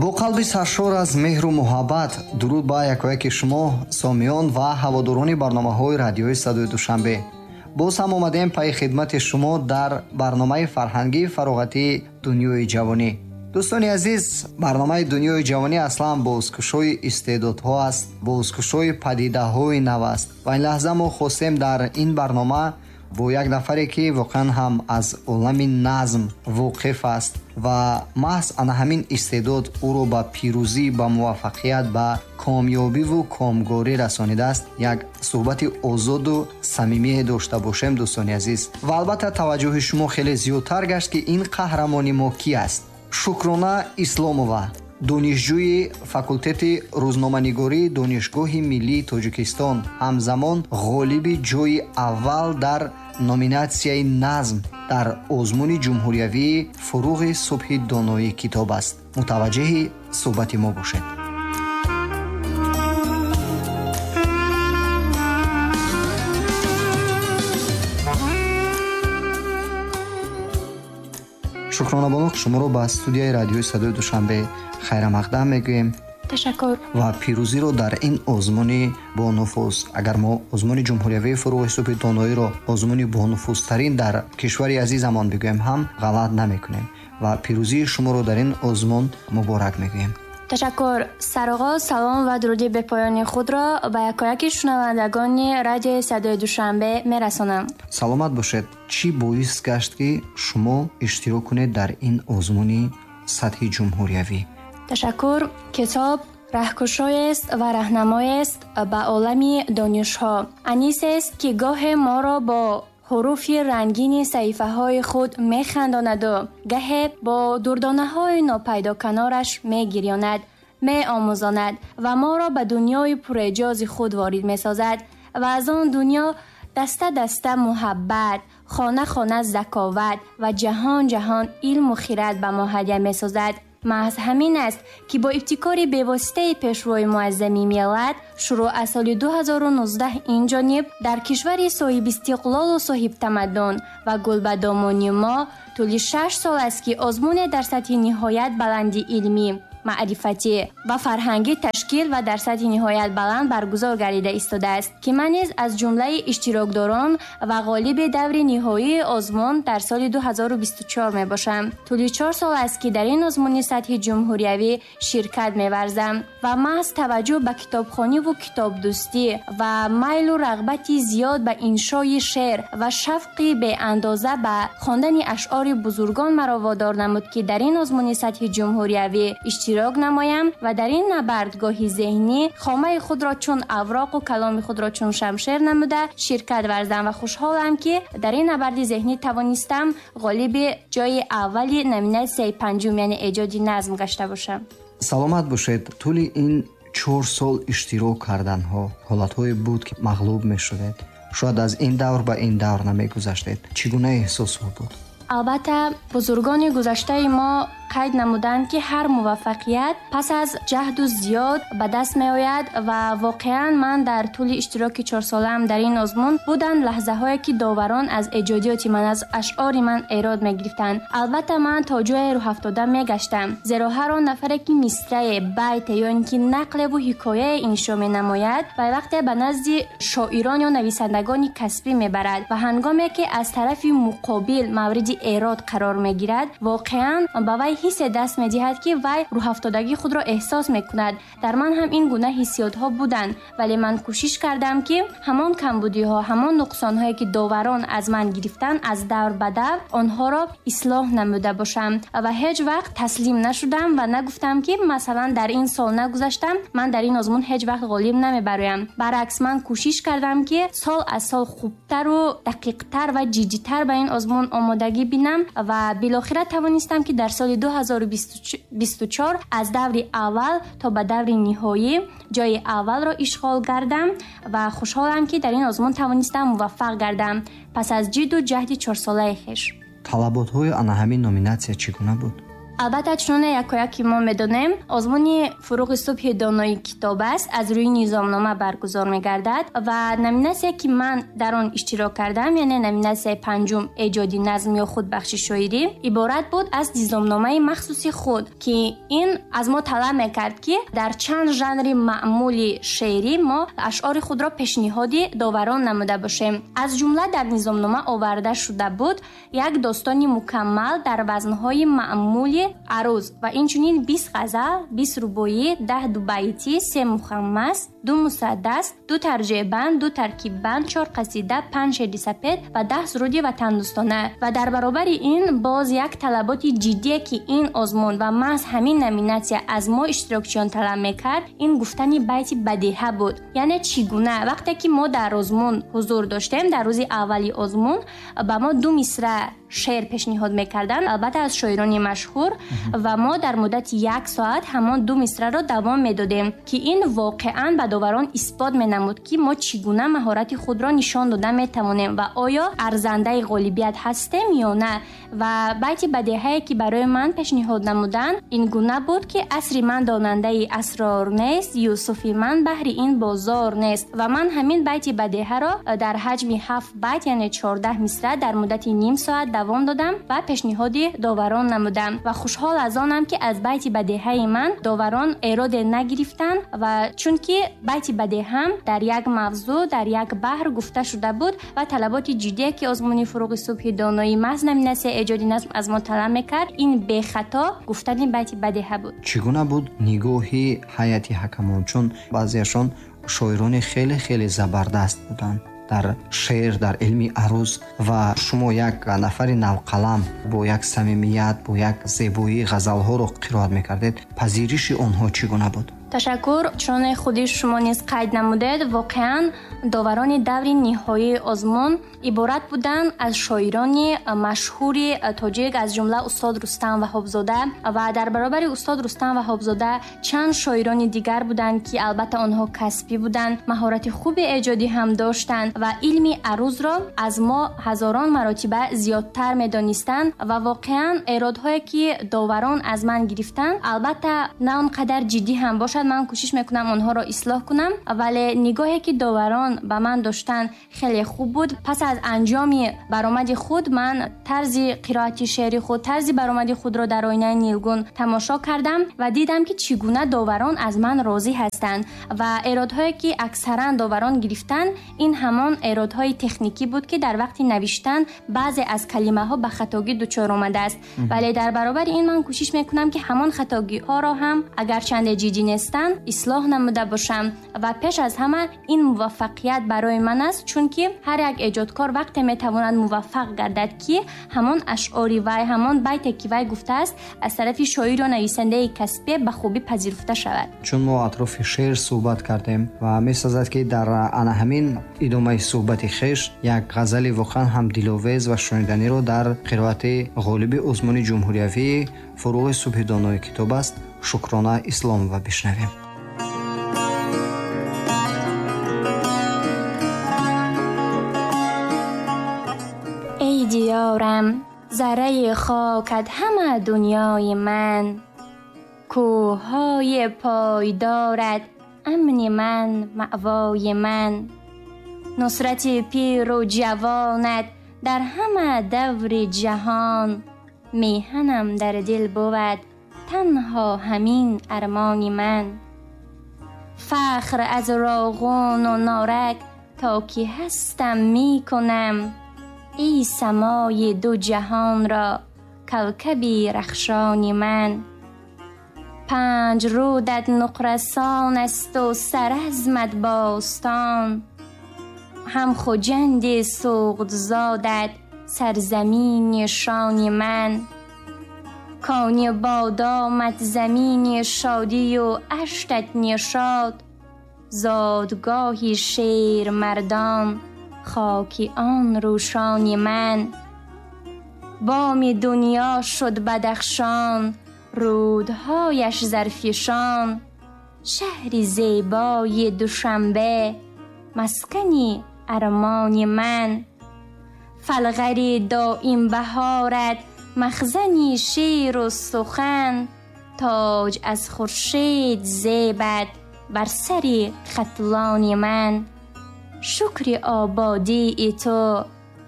Бо қалби саршор аз меҳру муҳаббат дуруд ба якояки шумо, сомиён ва ҳаводорони барномаҳои радиои Садои Душанбе. Боз ҳам омадем пайи хидмати шумо дар барномаи фарҳангии фароғатии Дунёи ҷавонӣ. Дӯстони азиз, барномаи Дунёи ҷавонӣ аслан бозкушои истеъдодҳо аст, бозкушои падидаҳои нав аст ва ин лаҳза мо хостем дар ин барнома бо як нафаре, ки воқеан ҳам аз олами назм воқиф аст ва маҳз ана ҳамин истеъдод ӯро ба пирӯзӣ, ба муваффақият, ба комёбиву комгорӣ расонидааст, як суҳбати озоду самимие дошта бошем, дӯстони азиз. Ва албатта таваҷҷӯҳи шумо хеле зиёдтар гашт, ки ин қаҳрамони мо ки аст. Шукрона Исломова, донишҷӯи факултети рӯзноманигории Донишгоҳи миллии Тоҷикистон, ҳамзамон ғолиби ҷойи аввал дар номинатсияи назм дар озмуни ҷумҳуриявии Фуруғи субҳи доноии китоб аст. Мутаваҷҷеҳи суҳбати мо бошед. Шукрона бону, шуморо ба студияи радиои Садои Душанбе хайрамақдам мегӯем. Ташаккур. Ва пирӯзиро дар ин озмуни бонуфуз, агар мо озмуни ҷумҳуриявии Фуруғи субҳи доноиро озмуни бонуфузтарин дар кишвари азизамон бигӯем, ҳам ғалат намекунем ва пирӯзии шуморо дар ин озмун муборак мегӯем. Ташаккур. Сарогоз салом ва дуруди бепоёни худро ба якояки шунавандагони радиои Садои Душанбе мерасонам. Саломат бошед. Чӣ боис гашт, ки шумо иштирок кунед дар ин озмуни сатҳи ҷумҳуриявӣ? Ташаккур. Китоб раҳкушоест ва раҳнамоест ба олами донишҳо. Анисест, ки гоҳе моро бо ҳуруфи рангини саҳифаҳои худ механдонаду гаҳе бо дурдонаҳои нопайдоканораш мегирёнад, меомӯзонад ва моро ба дунёи пурэъҷози худ ворид месозад ва аз он дунё даста-даста муҳаббат, хона-хона заковат ва ҷаҳон-ҷаҳон илму хирад ба мо ҳадя месозад. Маҳз ҳамин аст, ки бо ибтикори бевоситаи пешвои муаззами миллат шурӯъ аз соли 2019 ин ҷониб дар кишвари соҳибистиқлолу соҳибтамаддун ва гулбадомони мо тӯли 6 сол аст, ки озмуне дар сатҳи ниҳоят баланди илмӣ, маърифатӣ ва фарҳангӣ ташкил ва дар сатҳи ниҳоят баланд баргузор гардида истодааст, ки ман низ аз ҷумлаи иштирокдорон ва ғолиби даври ниҳоии озмун дар соли 2024 мебошам. Тӯли 4 сол аст, ки дар ин озмуни сатҳи ҷумҳуриявӣ ширкат меварзам ва маҳз таваҷҷӯҳ ба китобхониву китобдӯстӣ ва майлу рағбати зиёд ба иншои шеър ва шавқи беандоза ба хондани ашъори бузургон маро водор намуд, ки дар ин озмуни сатҳи ҷумҳуриявӣ иштирок намоям ва дар ин набардгоҳи зеҳнӣ хомаи худро чун авроқу каломи худро чун шамшер намуда ширкат варзам ва хушҳолам, ки дар ин набарди зеҳнӣ тавонистам ғолиби ҷойи аввали номинатсияи панҷум, яъне эҷоди назм гашта бошам. Саломат бошед. Тӯли ин 4 сол иштирок карданҳо ҳолатҳое буд, ки мағлуб мешудед, шояд аз ин давр ба ин давр намегузаштед. Чӣ гуна эҳсосҳо буд? Албатта, бузургони гузаштаи мо қайд намуданд, ки ҳар муваффақият пас аз ҷаҳду зиёд ба даст меояд ва воқеан ман дар тӯли иштироки 4-солаам дар ин озмун буданд лаҳзаҳое, ки доварон аз эҷодиёти ман, аз ашъори ман эрод мегирифтанд. Албатта, ман то ҷое рӯҳафтода мегаштам, зеро ҳар он нафаре, ки мисрае, байте ё ин ки нақлеву ҳикояе иншо менамояд ва вақте ба назди шоирон ё нависандагони касбӣ мебарад ва ҳангоме ки аз тарафи муқобил мавриди эрод қарор мегирад, воқеан ба вай ҳиссе даст медиҳад, ки вай рӯҳафтодагии худро эҳсос мекунад. Дар ман ҳам ин гуна ҳиссиётҳо буданд, вале ман кӯшиш кардам, ки ҳамон камбудиҳо, ҳамон нуқсонҳое, ки доварон аз ман гирифтанд, аз давр ба давр онҳоро ислоҳ намуда бошам ва ҳеҷ вақт таслим нашудам ва нагуфтам, ки масалан дар ин сол нагузаштам, ман дар ин озмун ҳеҷ вақт ғолиб намебароям. Баръакс, ман кӯшиш кардам, ки сол аз сол хубтару дақиқтар ва ҷиддитар ба ин озмун омодагӣ бинам ва билохира тавонистам, ки дар соли 2024 аз даври аввал то ба даври ниҳоӣ ҷойи аввалро ишғол гардам ва хушҳолам, ки дар ин озмун тавонистам муваффақ гардам пас аз ҷидду ҷаҳди 4-солаи хеш. Талаботҳои ана ҳамин номинатсия чӣ гуна буд? Албатта, чуноне якояки мо медонем, озмуни «Фурӯғи субҳи донои китоб аст» аз рӯи низомнома баргузор мегардад ва номинатсия, ки ман дар он иштирок кардам, яъне номинатсияи панҷум «Эҷоди назм ё худбахши шоирӣ», иборат буд аз низомномаи махсуси худ, ки ин аз мо талаб мекард, ки дар чанд жанри маъмули шеърӣ мо ашъори худро пешниҳоди доварон намуда бошем. Аз ҷумла дар низомнома оварда шуда буд як достони мукаммал дар вазнҳои маъмули аруз ва инчунин 20 ғазал, 20 рубоӣ, 10 дубайтӣ, се мухаммас, ду мусаддас, ду тарҷеъбанд, ду таркиббанд, чор қасида, панҷ шеъри сапед ва 10 суруди ватандӯстона. Ва дар баробари ин боз як талаботи ҷиддие, ки ин озмун ва маҳз ҳамин номинатсия аз мо иштирокчиён талаб мекард, ин гуфтани байти бадеҳа буд. Яъне чӣ гуна? Вақте ки мо дар озмун ҳузур доштем, дар рӯзи аввали озмун ба мо ду мисра шеър пешниҳод мекарданд, албатта аз шоирони машҳур, ва мо дар муддати як соат ҳамон ду мисраро давом медодем, ки ин воқеан ба доварон исбот менамуд, ки мо чӣ гуна маҳорати худро нишон дода метавонем ва оё арзандаи ғолибият ҳастем ё на. Ва байти бадеҳае, ки барои ман пешниҳод намуданд, ин гуна буд, ки асри ман донандаи асрор нест, Юсуфи ман баҳри ин бозор нест. Ва ман ҳамин байти бадеҳаро дар ҳаҷми ҳафт байт, яъне 14 мисра, дар муддати ним соат давом додам ва пешниҳоди доварон намудам. Ва хушҳол аз онам, ки аз байти бадеҳаи ман доварон эроде нагирифтанд, ва чунки байти бадеҳам дар як мавзӯъ, дар як баҳр гуфта шуда буд ва талаботи ҷиддие, ки озмуни «Фурӯғи субҳи доноӣ» маҳз номинатсияи эҷоди назм аз мо талаб мекард, ин бехато гуфтани байти бадеҳа буд. Чӣ гуна буд нигоҳи ҳайати ҳакамон? Чун баъзеашон шоирони хеле хеле забардаст буданд дар шеър, дар илми аруз, ва шумо як нафари навқалам бо як самимият, бо як зебоии ғазалҳоро қироат мекардед. Пазириши онҳо чӣ гуна буд? Ташаккур. Чуноне худи шумо низ қайд намудед, воқеан доварони даври ниҳоии озмун иборат буданд аз шоирони машҳури тоҷик, аз ҷумла устод Рустам Ваҳобзода, ва дар баробари устод Рустам Ваҳобзода чанд шоирони дигар буданд, ки албатта онҳо касбӣ буданд, маҳорати хуби эҷодӣ ҳам доштанд ва илми арузро аз мо ҳазорон маротиба зиёдтар медонистанд. Ва воқеан эродҳое, ки доварон аз ман гирифтанд, албатта на он қадар ҷиддӣ ҳам бошад, ман кӯшиш мекунам онҳоро ислоҳ кунам, вале нигоҳе, ки доварон ба ман доштанд, хеле хуб буд. Пас аз анҷоми баромади худ ман тарзи қироати шеъри худ, тарзи баромади худро дар оинаи нилгун тамошо кардам ва дидам, ки чӣ гуна доварон аз ман розӣ ҳастанд. Ва эродҳое, ки аксаран доварон гирифтанд, ин ҳамон эродҳои техникӣ буд, ки дар вақти навиштан баъзе аз калимаҳо ба хатогӣ дучор омадааст. Вале дар баробари ин ман кӯшиш мекунам, ки ҳамон хатогиҳоро ҳам, агарчанде ҷиддӣ нестанд, ислоҳ намуда бошам. Ва пеш аз ҳама ин муваффақият барои ман аст, чунки ҳар як эҷодкор вақте метавонад муваффақ гардад, ки ҳамон ашъори вай, ҳамон байте, ки вай гуфтааст, аз тарафи шоир ё нависандаи касбе ба хубӣ пазируфта шавад. Чун мо атрофи шеър суҳбат кардем ва месазад, ки дар ана ҳамин идомаи суҳбати хеш як ғазали воқеан ҳам диловез ва шуниданиро дар қироати ғолиби озмуни ҷумҳуриявии «Фурӯғи субҳи донои китоб аст» Шукрона Исломова бишнавем. Эй диёрам, зарраи хокат ҳама дунёи ман, кӯҳҳои пойдорат амни ман, маъвои ман, нусрати пиру ҷавонат дар ҳама даври ҷаҳон, меҳанам дар дил бувад танҳо ҳамин армони ман. Фахр аз Роғуну Норак то ки ҳастам мекунам, эй самои ду ҷаҳонро кавкаби рахшони ман. Панҷ рудат нуқрасон асту саразмат бостон, ҳам Хуҷанди суғдзодат сарзамини шони ман. Кони бодомат замини шодию аштат нишод, зодгоҳи шермардон хоки он рӯшони ман. Боми дунё шуд Бадахшон, рӯдҳояш зарфишон, шаҳри зебои Душанбе маскани армони ман. Фалғари доим баҳорат махзани шеъру сухан, тоҷ аз хуршед зебад бар сари хатлони ман. Шукри ободии ту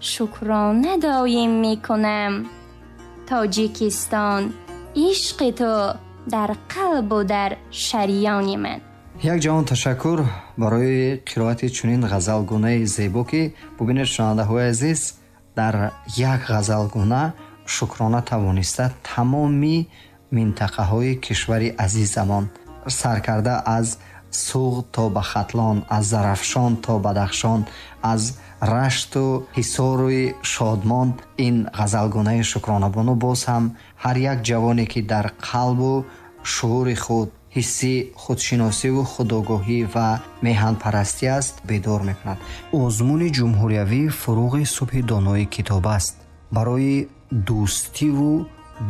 шукрона доим мекунам, Тоҷикистон, ишқи ту дар қалбу дар шариёни ман. Як ҷаҳон ташаккур барои қироати чунин ғазалгунаи зебо, ки бубинед, шунавандаҳои азиз, дар як ғазалгуна Шукрона тавониста тамоми минтақаҳои кишвари азизамон, саркарда аз Суғд то ба Хатлон, аз Зарафшон то Бадахшон, аз Рашту Ҳисоруи Шодмон, ин ғазалгунаи Шукронабону боз ҳам ҳар як ҷавоне, ки дар қалбу шуури худ ҳисси худшиносиву худогоҳӣ ва меҳанпарастӣ аст, бедор мекунад. Озмуни ҷумҳуриявии «Фуруғи субҳи донои китоб аст» барои дӯстиву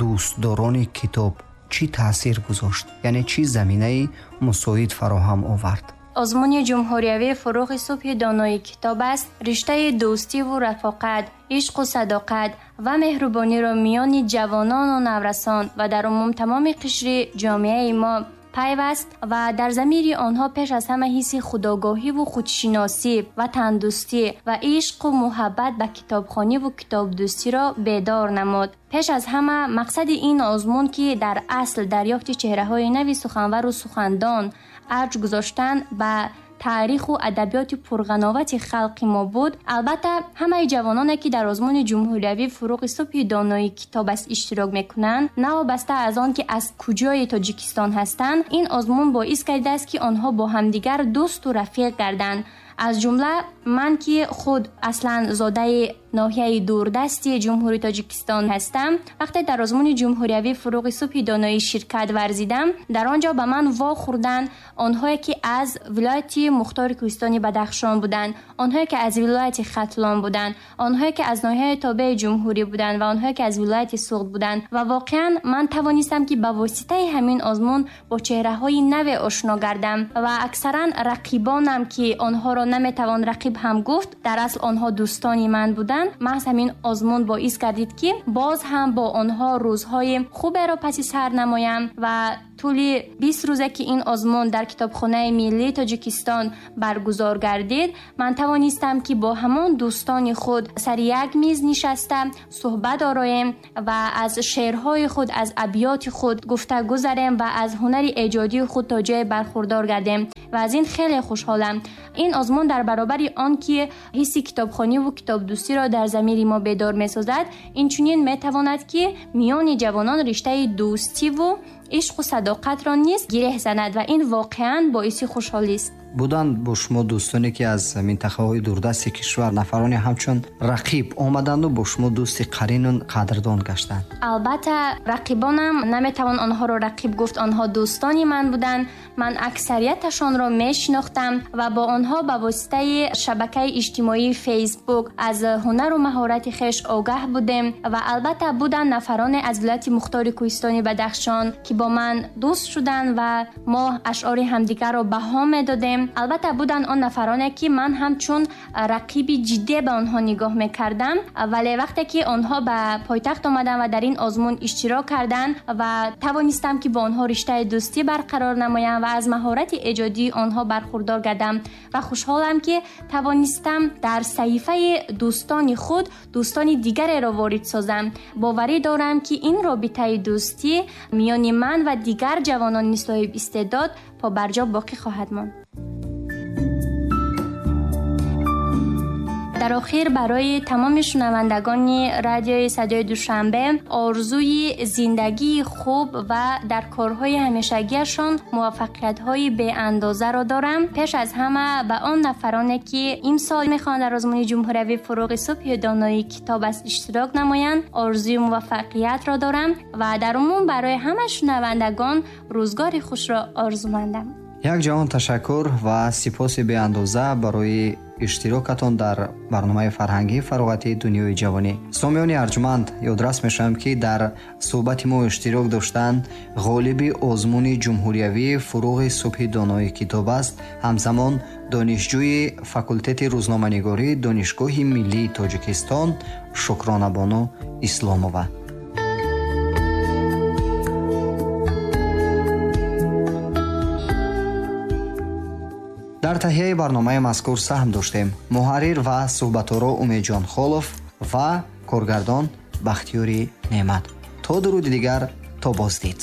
дӯстдорони китоб чӣ таъсир гузошт, яъне чӣ заминаи мусоид фароҳам овард? Озмуни ҷумҳуриявии «Фуруғи субҳи донои китоб аст» риштаи дӯстиву рафоқат, ишқу садоқат ва меҳрубониро миёни ҷавонону наврасон ва дар умум тамоми қишри ҷомеаи мо пайваст ва дар замири онҳо пеш аз ҳама ҳисси худогоҳиву худшиносӣ ва тандӯстӣ ва ишқу муҳаббат ба китобхониву китобдӯстиро бедор намуд. Пеш аз ҳама мақсади ин озмун, ки дар асл дарёфти чеҳраҳои нави суханвару сухандон, арҷ гузоштан ба таъриху адабиёти пурғановати халқи мо буд. Албатта, ҳамаи ҷавононе, ки дар озмуни ҷумҳуриявӣ «Фуруғи субҳи донои китоб аст» иштирок мекунанд, новобаста аз он ки аз куҷои Тоҷикистон ҳастанд, ин озмун боис гардидааст, ки онҳо бо ҳамдигар дӯсту рафиқ гарданд. Аз ҷумла ман, ки худ аслан зодаи ноҳияи дурдасти Ҷумҳурии Тоҷикистон ҳастам, вақте дар озмуни ҷумҳуриявӣ «Фуруғи субҳи доноӣ» ширкат варзидам, дар он ҷо ба ман вохӯрданд онҳое, ки аз вилояти мухтори кӯҳистони Бадахшон буданд, онҳое, ки аз вилояти Хатлон буданд, онҳое, ки аз ноҳияи тобеи ҷумҳурӣ буданд ва онҳое, ки аз вилояти Суғд буданд. Ва воқеан ман тавонистам, ки ба воситаи ҳамин озмун бо чеҳраҳои наве ошно гардам ва аксаран рақибонам, ки онҳоро наметавон рақиб ҳам гуфт, дар асл онҳо дӯстони ман буданд. Маҳз ҳамин озмун боис гардид, ки боз ҳам бо онҳо рӯзҳои хуберо паси сар намоям. Ва тӯли 20 рӯзе, ки ин озмун дар Китобхонаи миллии Тоҷикистон баргузор гардид, ман тавонистам, ки бо ҳамон дӯстони худ сари як миз нишаста суҳбат ороем ва аз шеърҳои худ, аз абёти худ гуфта гузарем ва аз ҳунари эҷодии худ то ҷое бархурдор гардем ва аз ин хеле хушҳолам. Ин озмун дар баробари он ки ҳисси китобхониву китобдӯстиро дар замири мо бедор месозад, инчунин метавонад, ки миёни ҷавонон риштаи дӯстиву ишқу садоқатро низ гиреҳ занад ва ин воқеан боиси хушҳолист. Буданд бо шумо дӯстоне, ки аз минтақаҳои дурдасти кишвар, нафароне ҳамчун рақиб омаданду бо шумо дӯсти қарину қадрдон гаштанд? Албатта, рақибонам, наметавон онҳоро рақиб гуфт, онҳо дӯстони ман буданд. Ман аксарияташонро мешинохтам ва бо онҳо ба воситаи шабакаи иҷтимоии Фейсбук аз ҳунару маҳорати хеш огаҳ будем. Ва албатта, буданд нафароне аз вилояти мухтори кӯҳистони Бадахшон, ки бо ман дӯст шуданд ва мо ашъори ҳамдигарро баҳо медодем. Албатта, буданд он нафароне, ки ман ҳамчун рақиби ҷиддӣ ба онҳо нигоҳ мекардам, вале вақте ки онҳо ба пойтахт омаданд ва дар ин озмун иштирок карданд ва тавонистам, ки бо онҳо риштаи дӯстӣ барқарор намоям ва аз маҳорати эҷодии онҳо бархурдор гардам. Ва хушҳолам, ки тавонистам дар саҳифаи дӯстони худ дӯстони дигареро ворид созам. Боварӣ дорам, ки ин робитаи дӯстӣ миёни ман ва дигар ҷавонони соҳибистеъдод побарҷо боқӣ хоҳад монд. Дар охир барои тамоми шунавандагони радиои Садои Душанбе орзуи зиндагии хуб ва дар корҳои ҳамешагиашон муваффақиятҳои беандозаро дорам. Пеш аз ҳама ба он нафароне, ки имсол мехоҳанд дар озмуни ҷумҳуриявии «Фуруғи субҳи донои китоб аст» иштирок намоянд, орзуи муваффақиятро дорам ва дар умум барои ҳама шунавандагон рӯзгори хушро орзумандам. Як ҷаҳон ташаккур ва сипоси беандоза барои иштирокатон дар барномаи фарҳангии фароғатии «Дунёи ҷавонӣ». Сомиёни арҷманд, ёдрас мешавам, ки дар суҳбати мо иштирок доштанд ғолиби озмуни ҷумҳуриявии «Фуруғи субҳи донои китоб аст», ҳамзамон донишҷӯи факултети рӯзноманигории Донишгоҳи миллии Тоҷикистон Шукронабону Исломова. Дар таҳияи барномаи мазкур саҳм доштем муҳаррир ва суҳбаторо Умедҷон Холов ва коргардон Бахтиёри Неъмат. То дуруди дигар, то боздид.